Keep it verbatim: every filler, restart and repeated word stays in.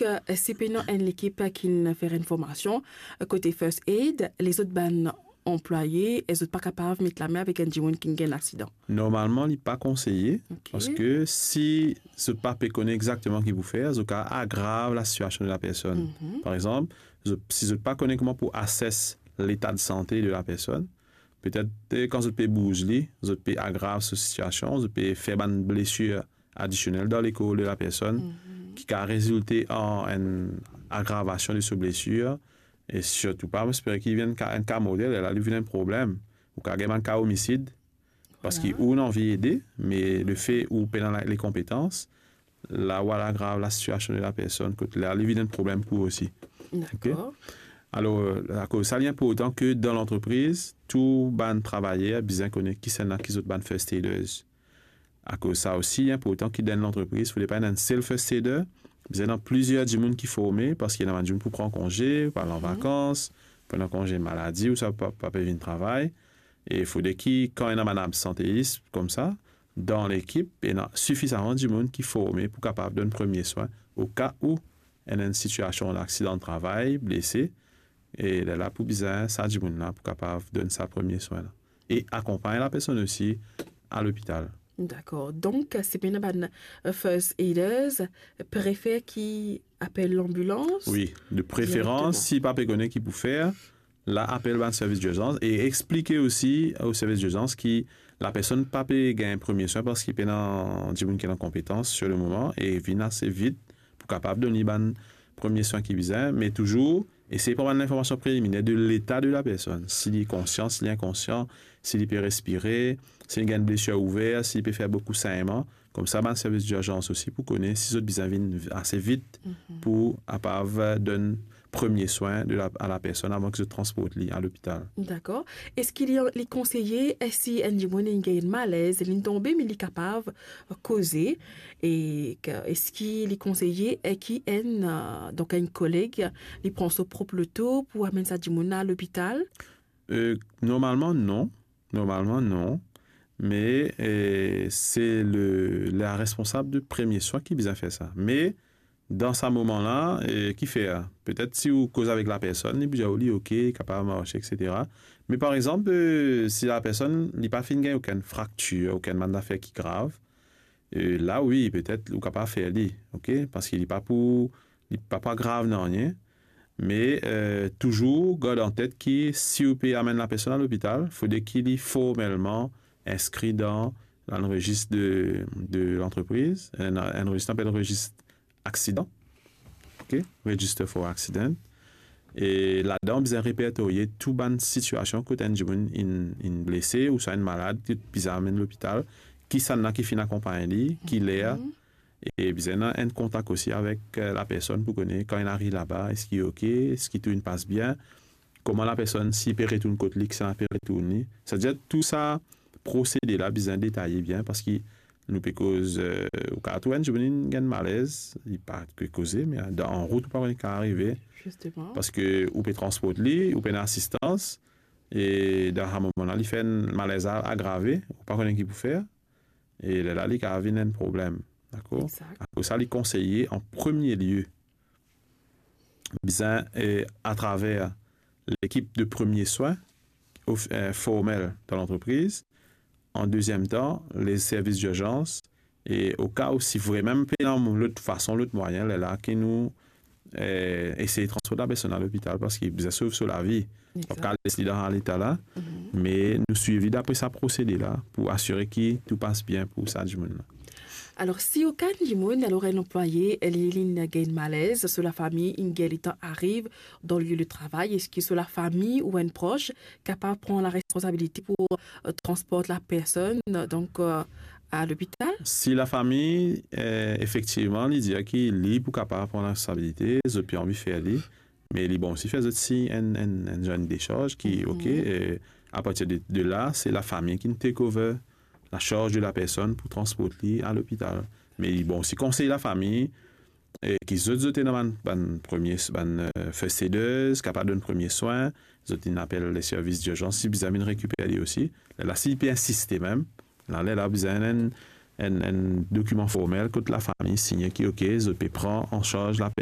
eh, si pena enn lekip ki'nn fer enn formasion, eh, kote first aid, lezot bann anplwaye, eh, zot pa kapav met lame avek enn dimoun ki'nn gagn laksidan? Normalman, li pa konseye, Ok. parski si zot pa pe kone exakteman ki pou fer, zot kav agrav lasitiasion de lapersonn. Mhm. Par exanp, zot, si zot pa kone kouma pou ases leta de sante de lapersonn, petet, eh, kan zot pe bouz li, zot pe agrav so sitiasion, zot pe fer bann blesir adisionel dan lekor de lapersonn, Mhm. ki kav rezilte an enn agravasion de so blesir, e sirtou pa, mo espere ki vinn enn ka, enn ka mortel, la li vinn enn problem. Ou kav gagn bann ka omisid, parski Vwala. ou ena anvi ede, me lefe ou pena la, lekonpetans, la ou al agrav lasitiasion de lapersonn, kot la li vinn enn problem pou ou osi. Dakor. Ok? Alor, akoz sa, li inportan ke dan lantrepriz, tou bann travayer bizin kone kisannla ki zot bann first aiders. Akoz sa osi, li inportan ki dan lantrepriz, fode pa ena enn sel first aider, bizin ena plizier dimoun ki forme, parski ena bann dimoun pou pran konze, pou al an Mhm. vakans, pou ena konze maladi, ouswa pa, pa pe vinn travay. E fode ki, kan ena bann absanteis koumsa, dan lekip, ena sifizaman dimoun ki forme pou kapav donn premie swin, o ka ou ena enn sitiasion laksidan travay, blese, e lerla pou bizin sa dimoun la pou kapav donn sa premie swin la. E akonpagn lapersonn osi a lopital. Dakor. Donk, si pena bann, eh, first aiders, prefer ki apel lanbilans Wi, de preferans, direkteman. si pa pe kone ki pou fer, la apel bann servis dirzans e explike osi o servis dirzans ki lapersonn pa pe gagn premie swin parski pena dimoun ki ena konpetans sir le moman e vinn ase vit pou kapav donn li bann premie swin ki bizin, me touzour esey pran bann linformasion preliminer de leta de lapersonn, si li konsian, si li inkonsian, si li pe respire, si li gagn blesir ouver, si li pe fer boukou segnman. Koumsa, bann servis dirzans osi pou kone si zot bizin vinn ase vit Mhm. pou kapav donn premie swin de la, a lapersonn avan ki zot transport li a lopital. Dakor. Eski li, li konseye, eh, si enn dimoun inn gagn malez, li'nn tonbe, me li kapav koze, e ke, eski li konseye, eh, ki enn, eh, donk enn koleg, li pran so prop loto pou amenn sa dimoun la a lopital? Eh, normalman, non. Normalman, non. Me, eh, se le, la responsab de premie swin ki bizin fer sa. Me, dan sa moman la, eh, ki fer? Petet si ou koz avek lapersonn, li pou dir ou li ok, kapav marse, et cetera. Me par exanp, eh, si lapersonn, li pa finn gagn okenn fraktir, okenn bann zafer ki grav, eh, la, wi, petet ou kapav fer li, ok? Parski li pa pou, li pa, pa grav nanye. Me, eh, touzour gard an tet ki si ou pe amenn lapersonn a lopital, fode ki li formelman inskri dan, dan rezis de, de lantrepriz, enn, enn rezis apel rezis aksidan. Ok? Register for accident. E ladan, bizin repertorye tou bann sitiasion kot enn dimoun inn, inn blese ouswa inn malad, ki bizin amenn lopital, kisannla ki finn akonpagn li, ki ler, Mhm. e bizin ena enn kontak osi avek, eh, lapersonn pou kone kan inn ariv laba, eski ok, eski tou inn pas bien, kouma lapersonn, si li pe retourn kot li, kisannla pe retourn li. Setadir tou sa prosede la bizin detaye bien, parski nou pe koz, eh, ou kav trouv enn dimoun inn gagn malez, li pa pe koze, me dan, an rout ou pa kone ki kav arive. Zisteman. Parski ou pe transport li, ou pena asistans, e dan sa moman la, li fer enn malez a, agrave, ou pa kone ki pou fer, e lerla li kav vinn enn problem, dakor? Exact. Akoz sa, li konseye an premie lie, bizin, eh, atraver lekip de premie swin of-, eh, formel dan lantrepriz, an deziem tan, le servis dirzans, e o ka ou si vremem pena lot fason, lot mwayin, lerla ki nou, eh, esey transport lapersonn a lopital parski bizin sov so lavi. Ou pa kav Exact. les li dan sa leta la, Mhm. me nou swiv li dapre sa prosede la pou asire ki tou pas bien pou sa dimoun la. Alor, si okenn dimoun, alor enn anplwaye, li, li inn gagn malez, so lafami inn gagn letan ariv dan lie de travay, eski so lafami ou enn pros kapav pran laresponsabilite pou, eh, transport lapersonn, donk, eh, a lopital? Si lafami, eh, efektivman, li dir ki li pou kapav pran laresponsabilite, zot pe anvi fer li, me li bon osi fer zot sign enn, enn, enn, enn dezarz ki, Mhm. ok, eh, apartir de, de la, se lafami ki'nn take over lasarz de lapersonn pou transport li a lopital. Me li bon osi konsey lafami, eh, ki zot, zot ena bann, bann premie, bann, eh, first aiders, kapav donn premie swin, zot inn apel le servis dirzans, si bizin vinn rekiper li osi. Lerla, si li pe insiste mem, la, lerla bizin enn, enn, enn dokiman formel kot lafami signe ki, ok, zot pe pran an sarz lapersonn